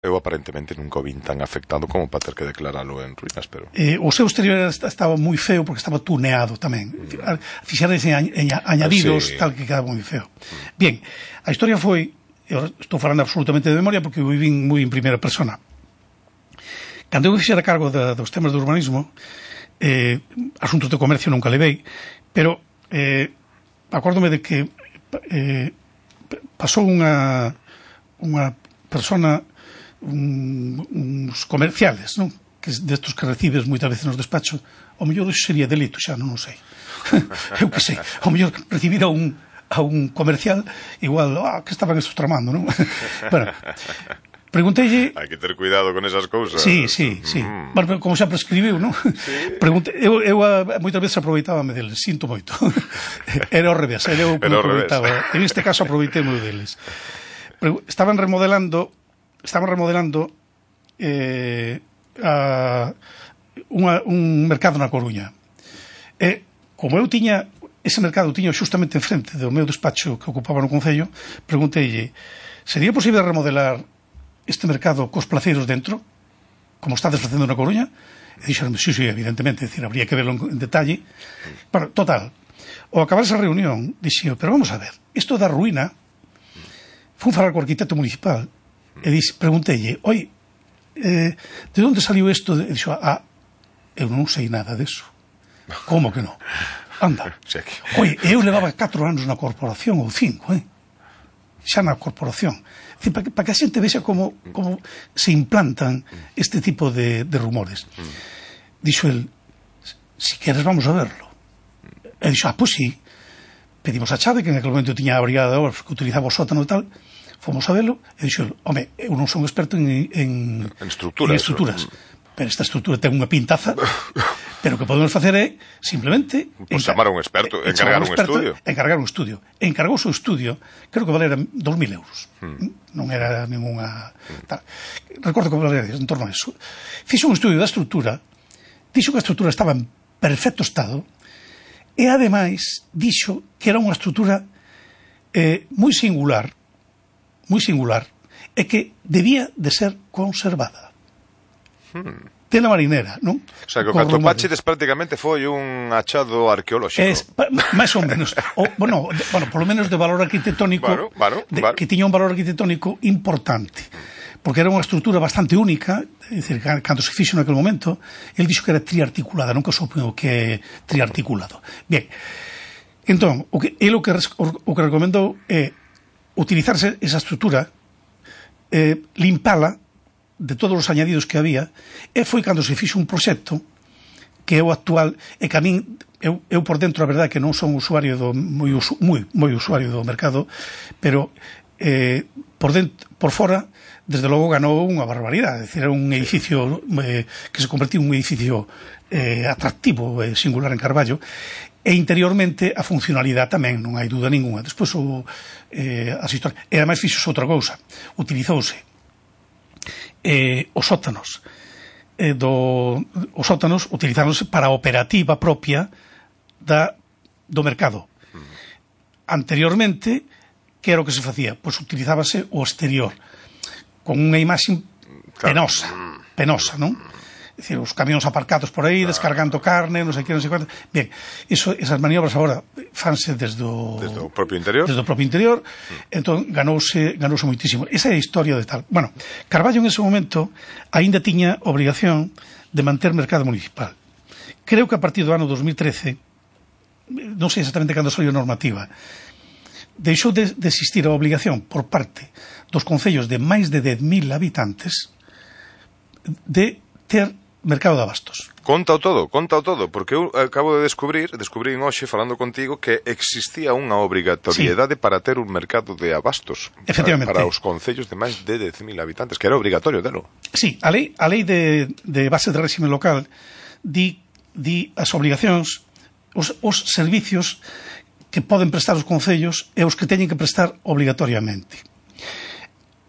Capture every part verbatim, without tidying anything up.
Eu aparentemente nunca o vin tan afectado como para ter que declaralo en ruínas, pero... Eh, o seu exterior estaba moi feo porque estaba tuneado tamén. Mm. Fixeres en, en añadidos, sí, tal que quedaba moi feo. Mm. Bien, a historia foi, eu estou falando absolutamente de memoria porque eu vivin moi en primeira persona. Cando eu fixera cargo de, dos temas de urbanismo, eh, asuntos de comercio nunca levei, pero eh, acórdome de que eh, pasou unha unha persona, un, uns comerciales, non? Que destos que recibes moitas veces nos despachos, o mellor iso sería delito, xa non, non sei. Eu que sei, o mellor recibir a un, a un comercial igual, ah, que estaban estos tramando, non? Bueno, pregunteille... Hai que ter cuidado con esas cousas. Sí, sí, sí. Mm. Bueno, como xa prescribiu, non? Sí. Pregunte... Eu, eu a, moitas veces aproveitábame deles, sinto moito. Era ao revés, era eu que aproveitaba. En este caso aproveitei moi deles. Pero estaban remodelando estaban remodelando eh, a, unha, un mercado na Coruña. E, como eu tiña, ese mercado tiña justamente enfrente do meu despacho que ocupaba no Concello, pregunteille, sería posible remodelar este mercado cos placeiros dentro, como estades facendo na Coruña? E dixeron, sí, sí, evidentemente, decir, habría que verlo en detalle. Bueno, total, ao acabar esa reunión, dixo, pero vamos a ver, isto da ruína, fun falar co arquitecto municipal, e dix, preguntelle, oi, eh, de onde saliu isto? E dixo, ah, eu non sei nada deso. Como que non? Anda. Oi, eu levaba catro anos na corporación, ou cinco, eh? Xa na corporación. Para que, pa que a xente vexa como, como se implantan este tipo de, de rumores. Dixo el, si queres vamos a verlo. E dixo, ah, pois sí. Pedimos a chave, que en aquel momento tiña a brigada de obras que utilizaba o sótano e tal. Fomos a velo e dixo, home, eu non son experto en, en, en estruturas, en estruturas pero esta estrutura ten unha pintaza, pero o que podemos facer é simplemente pues chamar a un experto, eh, encargar un, un experto, estudio encargar un estudio, encargouse o estudio, creo que valera dos mil euros, hmm. non era ninguna tal. Recordo que valera en torno a eso. Fixo un estudio da estrutura, dixo que a estrutura estaba en perfecto estado e ademais dixo que era unha estrutura eh, moi singular moi singular, é que debía de ser conservada. Hmm. Tela marinera, non? O sea, que o Catopachides prácticamente foi un achado arqueolóxico. Es, máis ou menos. O, bueno, de, bueno, por lo menos de valor arquitectónico, bueno, bueno, de, bueno. que tiña un valor arquitectónico importante. Porque era unha estrutura bastante única, é dicir, cando se fixo naquele momento, el dixo que era triarticulada, nunca supongo que é triarticulado. Bien, entón, o que, el o que, o que recomendou é utilizarse esa estrutura, eh, limpala de todos os añadidos que había, e foi cando se fixo un proxecto que é o actual, e que a min, eu, eu por dentro, a verdade que non son usuario do, moi, moi, moi usuario do mercado, pero eh, por, dentro, por fora, desde logo ganou unha barbaridade, é dicir, era un edificio eh, que se convertiu en un edificio eh, atractivo e eh, singular en Carballo, e interiormente a funcionalidade tamén, non hai dúda ninguna. Despois o, eh, as historias, e ademais fixose outra cousa, utilizouse eh, os sótanos eh, do, os sótanos utilizáronse para a operativa propia da, do mercado. Anteriormente, que era o que se facía? Pois utilizábase o exterior con unha imaxe penosa, penosa, non? É dicir, os camións aparcados por aí, descargando carne, non sei que, non sei cuánto. Bien, eso, esas maniobras agora fanse desde o, desde o propio interior. Desde o propio interior, mm. entón ganouse, ganouse moitísimo. Esa é a historia de tal. Bueno, Carballo en ese momento aínda tiña obrigación de manter mercado municipal. Creo que a partir do ano dos mil trece, non sei exactamente cando saliu a normativa, deixou de, de existir a obligación por parte dos concellos de máis de dez mil habitantes de ter mercado de abastos. Contao todo, contao todo, porque eu acabo de descubrir, descubrí hoxe falando contigo que existía unha obrigatoriedade sí. para ter un mercado de abastos efectivamente para, para os concellos de máis de dez mil habitantes, que era obrigatorio delo. Sí, a lei, a lei de, de base de réxime local di, di as obligacións, os, os servicios que poden prestar os concellos e os que teñen que prestar obligatoriamente.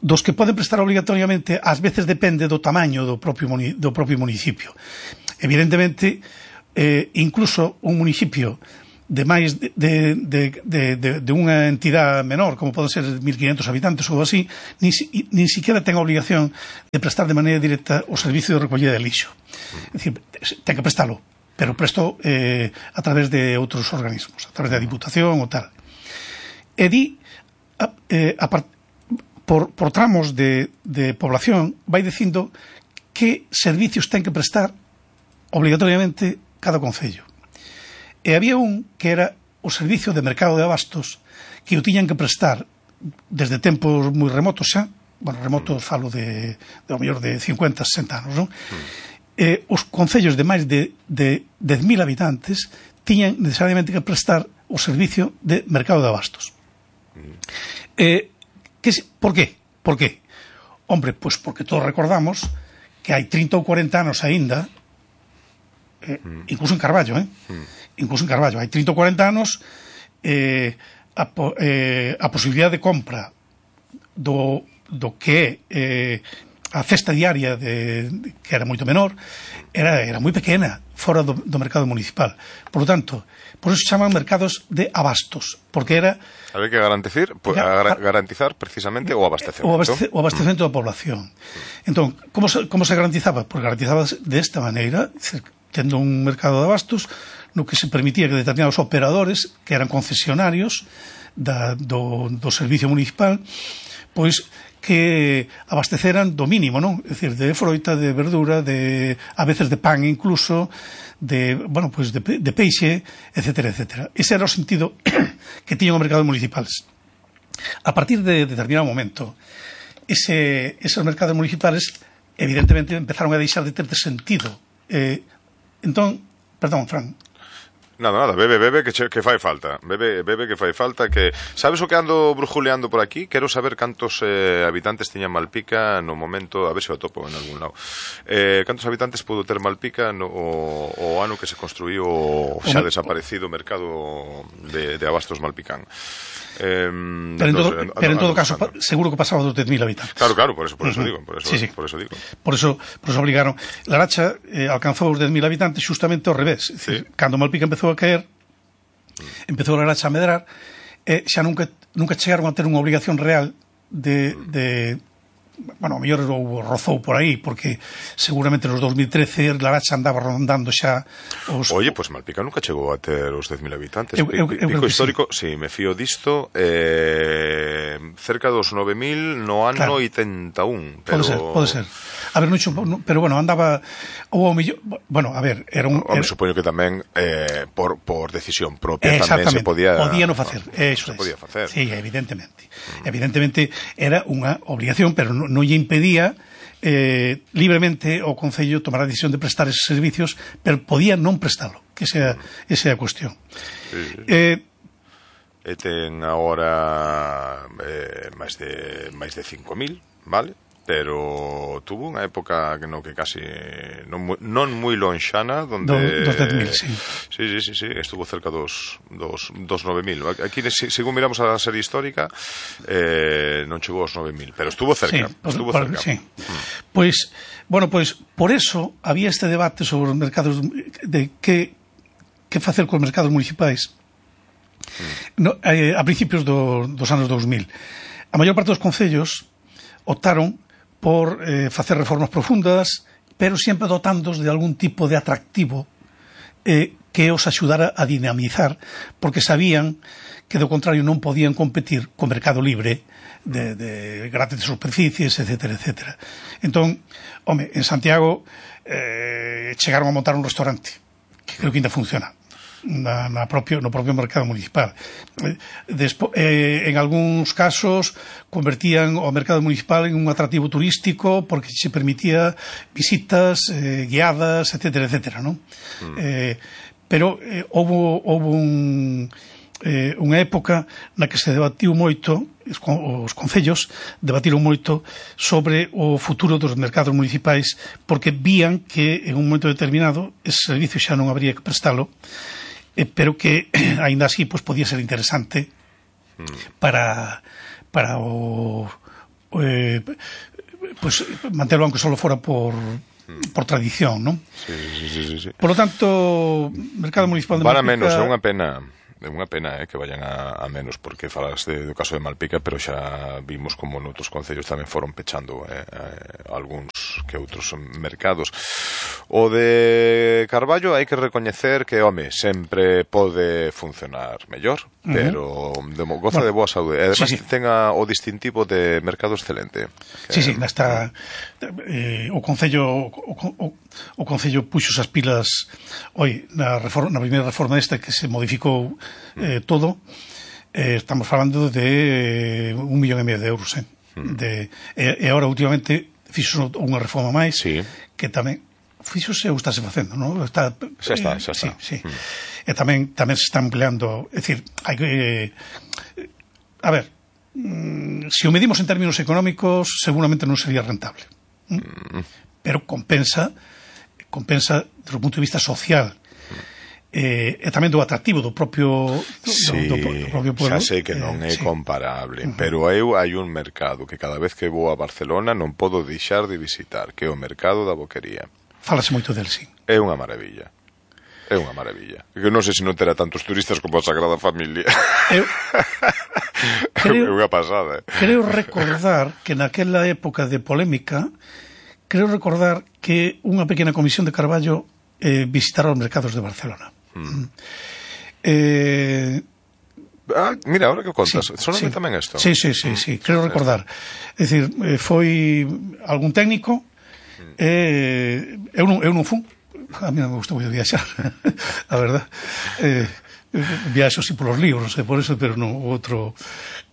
Dos que poden prestar obligatoriamente, ás veces depende do tamaño do propio, do propio municipio. Evidentemente, eh, incluso un municipio de máis de, de, de, de, de, de unha entidade menor, como poden ser mil quinhentos habitantes ou así, nin, nin siquiera ten a obligación de prestar de maneira directa o servicio de recollida de lixo. É dicir, ten que prestalo, pero presto eh, a través de outros organismos, a través da Diputación ou tal. E di, a, eh, a part, por, por tramos de, de población, vai dicindo que servicios ten que prestar obligatoriamente cada concello. E había un que era o servicio de mercado de abastos que o tiñan que prestar desde tempos moi remotos xa, bueno, remotos falo de, de ao mellor de cincuenta, sesenta anos, non? Mm. Eh, os concellos de máis de, de dez mil habitantes tiñan necesariamente que prestar o servicio de mercado de abastos. Mm. Eh, que, por qué? Por qué? Hombre, pois porque todos recordamos que hai trinta ou cuarenta anos aínda, eh, mm. incluso en Carballo, eh? Mm. incluso en Carballo, hai trinta ou cuarenta anos, eh, a, eh, a posibilidade de compra do, do que é eh, a cesta diaria de, de, que era moito menor, era, era moi pequena fora do, do mercado municipal. Por lo tanto, por eso se chaman mercados de abastos, porque era... Había que garantizar, pues, gar, garantizar precisamente o abastecemento. O, abaste, o abastecemento mm. da población. Entón, como se, como se garantizaba? Pues garantizaba desta maneira, tendo un mercado de abastos, no que se permitía que determinados operadores, que eran concesionarios da, do, do servicio municipal, pois que abasteceran do mínimo, non? É dicir, de froita, de verdura, de a veces de pan incluso, de, bueno, pois de, de peixe, etcétera, etcétera. Ese era o sentido que tiñan os mercados municipales. A partir de determinado momento, ese, esos mercados municipales evidentemente empezaron a deixar de ter de sentido. Eh, entón, perdón, Fran. Nada, nada, bebe, bebe, que, che, que fai falta. Bebe, bebe, que fai falta. Que sabes o que ando brujuleando por aquí? Quero saber cantos eh, habitantes tiña Malpica no momento, a ver se o topo en algún lado. Eh, cantos habitantes pudo ter Malpica no o, o ano que se construiu o xa desaparecido mercado de, de abastos malpicán. Eh, pero en todo, no, pero en todo caso, pa, seguro que pasaba dos dez mil habitantes. Claro, claro, por eso, por eso uh-huh. digo, por eso, sí, sí. por eso digo. Por eso, por eso obligaron. Laracha eh, alcanzou os dez mil habitantes justamente ao revés. É dicir, sí. Cando Malpica empezou a caer, mm. empezou a Laracha a medrar, eh, xa nunca, nunca chegaron a ter unha obligación real de, mm. de bueno, o mellor o rozou por aí, porque seguramente nos dos mil trece Laracha andaba rondando xa os... Oye, pois pues Malpica nunca chegou a ter os dez mil habitantes. Eu, eu, eu Pico histórico, sí. Si me fío disto, eh, cerca dos nove mil no ano claro. oitenta e un. Pero... Pode ser, pode ser. A ver, non, pero bueno, andaba ou ao millón, bueno, a ver, era un... Hombre, era... supoño que tamén eh, por, por decisión propia tamén se podía... podía no facer, eso se podía facer. Sí, evidentemente. Mm. Evidentemente era unha obligación, pero non, non lle impedía eh, libremente o Concello tomar a decisión de prestar esos servicios, pero podía non prestalo, que esa, mm. esa é a cuestión. Sí, sí. Eh, e ten agora eh, máis de máis de cinco mil, vale? Pero tuvo unha época que no que casi non, non moi lonxana donde do, dos dez mil, sí. Sí, sí, sí, sí, estuvo cerca dos dos, dos nove mil. Aquí, según miramos a serie histórica, eh, non chegou aos nove mil, pero estuvo cerca, sí, estuvo por, cerca. Sí. Mm. Pois, bueno, pois por eso había este debate sobre os mercados de que que facer cos mercados municipais. Mm. No, eh, a principios do, dos anos dos mil. A maior parte dos concellos optaron por eh, facer reformas profundas, pero sempre dotándos de algún tipo de atractivo eh, que os axudara a dinamizar, porque sabían que do contrario non podían competir co mercado libre de, de grandes superficies, etcétera, etcétera. Entón, home, en Santiago eh, chegaron a montar un restaurante que creo que ainda funciona na, na propio, no propio mercado municipal. Despo, eh, en algúns casos convertían o mercado municipal en un atractivo turístico porque se permitía visitas eh, guiadas, etcétera, etcétera, ¿no? Mm. Eh, pero eh, houve, houve un, eh, unha época na que se debatiu moito, os concellos debatiron moito sobre o futuro dos mercados municipais, porque vían que en un momento determinado ese servicio xa non habría que prestalo, eh, pero que aínda así pues, podía ser interesante para para o eh, pues manterlo aunque solo fora por por tradición, ¿no? Sí, sí, sí, sí. Por lo tanto, mercado municipal de Para Malpica... menos, é unha pena. é unha pena eh, que vayan a, a menos, porque falas de, do caso de Malpica, pero xa vimos como noutros concellos tamén foron pechando eh, eh, algúns que outros mercados. O de Carballo hai que recoñecer que, home, sempre pode funcionar mellor, uh-huh. pero de, goza bueno, de boa saúde. E además sí, sí. ten a, o distintivo de mercado excelente. Que, sí, sí, nesta eh, o Concello o, o, o Concello puxo as pilas oi, na, reforma, na primeira reforma esta que se modificou eh, todo, eh, estamos falando de eh, un millón e medio de euros eh, mm. de, e, e agora últimamente fixo unha reforma máis sí. que tamén fixose ou estáse facendo, non? Está, xa está, xa está. Sí, sí. Mm. E tamén tamén se está empleando, é dicir, hai que eh, a ver, mm, se o medimos en términos económicos, seguramente non sería rentable. Mm. Mm. Pero compensa compensa desde o punto de vista social. Eh, e tamén do atractivo do propio do, sí, do, do propio pueblo. Xa sei que non é eh, sí. comparable, uh-huh. pero eu hai un mercado que cada vez que vou a Barcelona non podo deixar de visitar, que é o mercado da Boquería. Fálase moito del, sí. É unha maravilla. É unha maravilla. Que non sei se non terá tantos turistas como a Sagrada Familia. Eu, creo, é unha pasada. Eh? Creo recordar que naquela época de polémica, creo recordar que unha pequena comisión de Carballo eh, visitara os mercados de Barcelona. Mm. Eh, ah, mira, ahora que contas, sí, solamente sí. tamén isto. Sí, sí, sí, sí, creo recordar. É dicir, eh, foi algún técnico, mm. eh, eu non, eu non fun, a mí non me gusta moito viaxar, a verdad. Eh, viaxo si polos libros, e por eso, pero non outro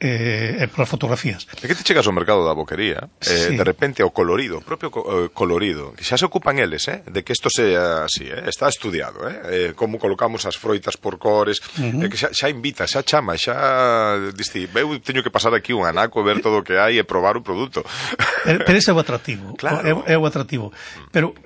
eh, polas fotografías. É que te chegas ao mercado da Boquería, eh, sí. de repente o colorido, o propio co- colorido, que xa se ocupan eles, eh, de que isto sea así, eh, está estudiado, eh, eh, como colocamos as froitas por cores, uh-huh. eh, que xa, xa invita, xa chama, xa disti, eu teño que pasar aquí un anaco, ver todo o que hai e probar o produto. Pero, pero ese é o atractivo, claro. é, é o atractivo, pero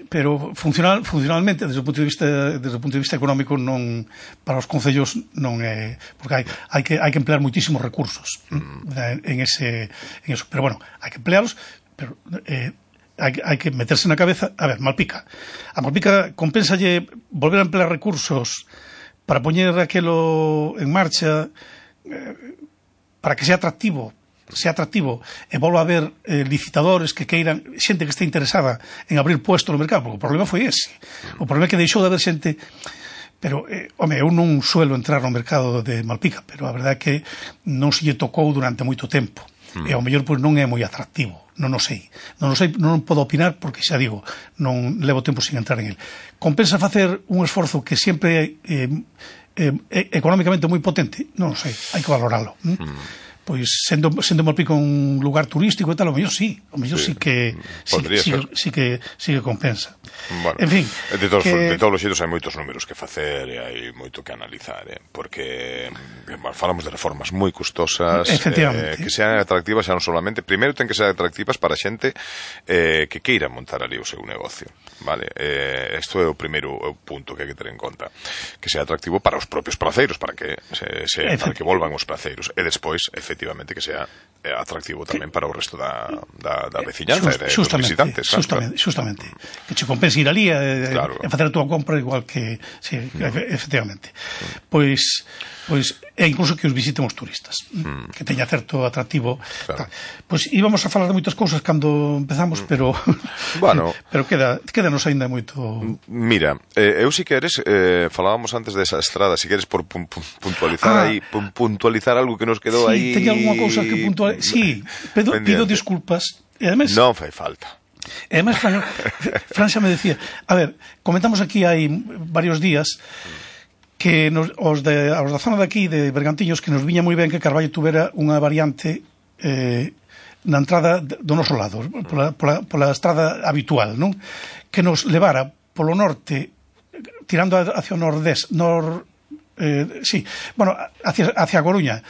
pero funcional, funcionalmente desde o punto de vista desde o punto de vista económico non para os concellos non é, porque hai hai que hai que emplear muitísimos recursos mm. en ese en eso, pero bueno, hai que emplearlos, pero eh hai que, hai que meterse na cabeza, a ver, Malpica. A Malpica compensalle volver a emplear recursos para poñer aquelo en marcha eh, para que sea atractivo sea atractivo e volva a haber eh, licitadores que queiran, xente que este interesada en abrir puesto no mercado, porque o problema foi ese. O problema é que deixou de haber xente, pero, eh, home, eu non suelo entrar no mercado de Malpica, pero a verdade é que non se lle tocou durante moito tempo. Mm. E ao mellor pois, non é moi atractivo, non o sei. Non o sei, non podo opinar porque xa digo, non levo tempo sin entrar en el. Compensa facer un esforzo que sempre é eh, eh, económicamente moi potente? Non o sei, hai que valoralo. Mm? Mm. Pois sendo, sendo Malpica un lugar turístico e tal, o mellor sí, o mellor sí, sí que sí, sí, sí, que, sí que compensa. Bueno, en fin, de todos, que... de todos os xeitos hai moitos números que facer e hai moito que analizar, eh? Porque bueno, falamos de reformas moi custosas, eh, que sean atractivas xa non solamente, primeiro ten que ser atractivas para a xente eh, que queira montar ali o seu negocio, vale? Eh, isto é o primeiro punto que hai que ter en conta, que sea atractivo para os propios praceiros, para que se, se, para que volvan os praceiros, e despois, efectivamente, que sea atractivo tamén para o resto da, da, da veciñanza e dos visitantes. Justamente, justamente. Que che compense ir ali e, claro. e facer a túa compra igual que, sí, no. efectivamente. Mm. Pois, pois, e incluso que os visiten os turistas, mm. que teña certo atractivo. Claro. Pois íbamos a falar de moitas cousas cando empezamos, mm. pero bueno, pero queda, quedanos aínda moito. Mira, eh, eu si queres, eh, falábamos antes desa estrada, si queres por pun, pun, puntualizar ah. aí, pun, puntualizar algo que nos quedou sí, aí. Sí, teña algunha cousa que puntualizar. Sí, pido, pido disculpas. E además, non fai falta. E además, Fran, Fran xa me decía, a ver, comentamos aquí hai varios días que nos, os, de, os da zona de aquí, de Bergantiños, que nos viña moi ben que Carballo tuvera unha variante eh, na entrada do noso lado, pola, pola, pola estrada habitual, non? Que nos levara polo norte, tirando hacia o nordés, nor, eh, sí, bueno, hacia, hacia Coruña,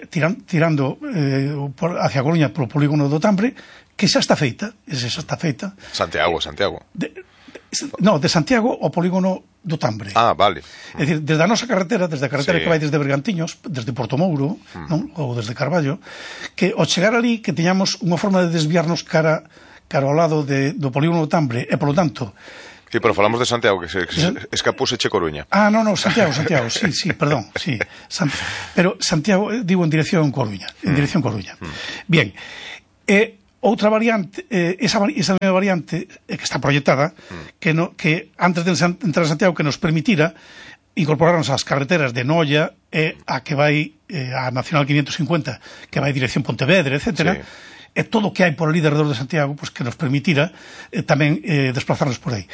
tiran, tirando eh, por, hacia Coruña polo polígono do Tambre, que xa está feita, esa xa está feita. Santiago, Santiago. De, no, de Santiago ao polígono do Tambre. Ah, vale. É dicir, desde a nosa carretera, desde a carretera sí. que vai desde Bergantiños, desde Portomouro, mm. non? Ou desde Carballo, que ao chegar ali que teñamos unha forma de desviarnos cara, cara ao lado de, do polígono do Tambre, e polo tanto Sí, pero falamos de Santiago, que se, que se escapouse Che Coruña. Ah, no, no, Santiago, Santiago, sí, sí, perdón, sí. San, pero Santiago, digo, en dirección Coruña, en mm. dirección Coruña. Mm. Bien, eh, outra variante, eh, esa, esa variante eh, que está proyectada, mm. que, no, que antes de entrar a Santiago, que nos permitira incorporarnos ás carreteras de Noia e a que vai eh, a Nacional quinientos cincuenta, que vai dirección Pontevedra, etcétera, sí. E todo o que hai por ali alrededor de Santiago, pues, que nos permitira eh, tamén eh, desplazarnos por aí.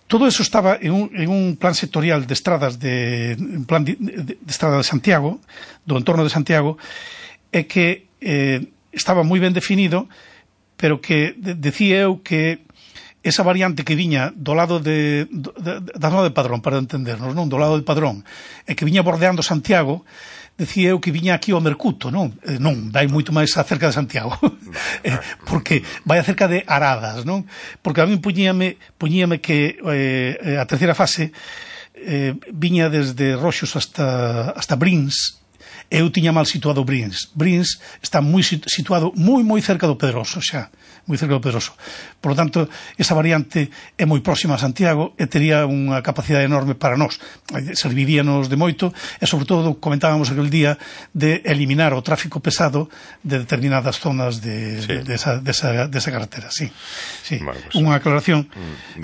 Todo eso estaba en un, en un plan sectorial de estradas de, en plan de, de, de estrada de Santiago, do entorno de Santiago, e que eh, estaba moi ben definido, pero que de, decía eu que esa variante que viña do lado de, de, de, da zona de Padrón, para entendernos, non? Do lado de Padrón, e que viña bordeando Santiago, decía eu que viña aquí ao Mercuto, non? Eh, non, vai moito máis acerca de Santiago. eh, porque vai acerca de Aradas, non? Porque a mí puñíame, puñíame que eh, a terceira fase eh, viña desde Roxos hasta, hasta Brins. Eu tiña mal situado Brins. Brins está moi situado moi moi cerca do Pedroso xa, moi cerca do Pedroso. Por lo tanto, esa variante é moi próxima a Santiago e tería unha capacidade enorme para nós. Serviríanos de moito e, sobre todo, comentábamos aquel día de eliminar o tráfico pesado de determinadas zonas de, sí. de, de, esa, de, esa, de esa carretera. Sí, sí. Bueno, pues, unha aclaración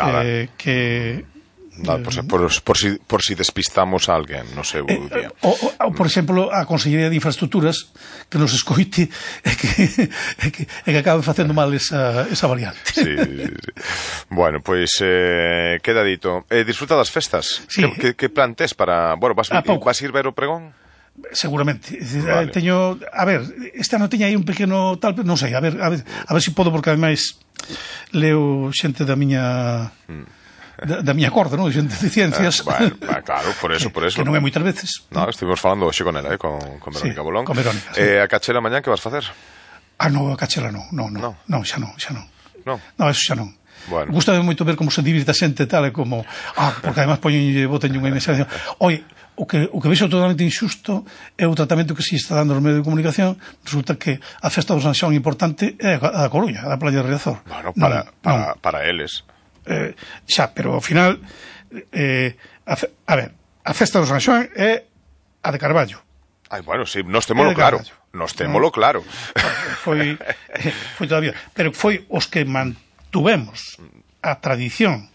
eh, que... No, por, por, por, si, por si despistamos a alguén, non sei, eh, día. O, o, por exemplo, a Consellería de Infraestructuras que nos escoite e que, e que, e que acabe facendo mal esa, esa variante. Sí, sí, sí. Bueno, pois pues, eh, queda dito. Eh, disfruta das festas. Sí. Que, que, que plan tes para... Bueno, vas, vas ir ver o pregón? Seguramente. Vale. Teño, a ver, esta non teña aí un pequeno tal, non sei, a ver, a ver, a ver se si podo, porque ademais leo xente da miña... Mm. Da, da miña corda, non? Xente de ciencias. Eh, bueno, claro, por eso, por eso. Que non é moitas veces. No, estivemos falando hoxe con ela, eh, con, con Verónica sí, Bolón. Con Verónica, sí. Eh, a Cachela mañá que vas facer? Ah, no, a Cachela non, non, non, no. non, xa non, xa non. No. No, eso xa non. Bueno. Gústame moito ver como se divirta a xente tal e como, ah, porque además poñenlle, botenlle unha mensaxe. Oi, o que o que vexo totalmente injusto é o tratamento que se está dando nos medios de comunicación. Resulta que a festa do San Xoán importante é a da Coruña, a da Playa de Riazor. Bueno, para, non, para, non. para eles. Eh, xa, pero ao final eh, a, fe, a ver, a festa do San Xoán é a de Carballo. Ai, bueno, sí, nos témolo claro. Nos témolo no, claro. Foi, foi todavía, pero foi os que mantuvemos a tradición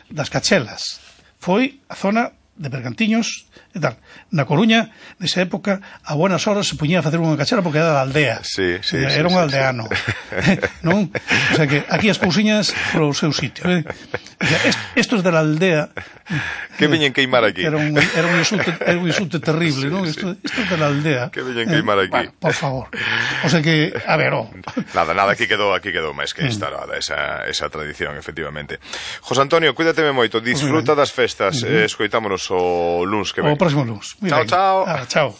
das cachelas. Foi a zona de Bergantiños e tal. Na Coruña, nesa época, a buenas horas se puñía a facer unha cachera porque era da aldea. Sí, sí, era sí, un sí, aldeano. Sí. Non? O sea que aquí as cousiñas pro seu sitio. Eh? O sea, estos de la aldea... Que veñen queimar aquí. Era un, era un, insulto, era un insulto terrible, sí, non? Sí. Estos esto de la aldea. Que veñen queimar aquí. Eh, bueno, por favor. O sea que, a ver, oh. Nada, nada, aquí quedou, aquí quedou máis que instalada esa, esa tradición, efectivamente. José Antonio, cuídateme moito, disfruta das festas, eh, escoitámonos o luns que ven. O próximo luns. Chao, chao. Ah, chao.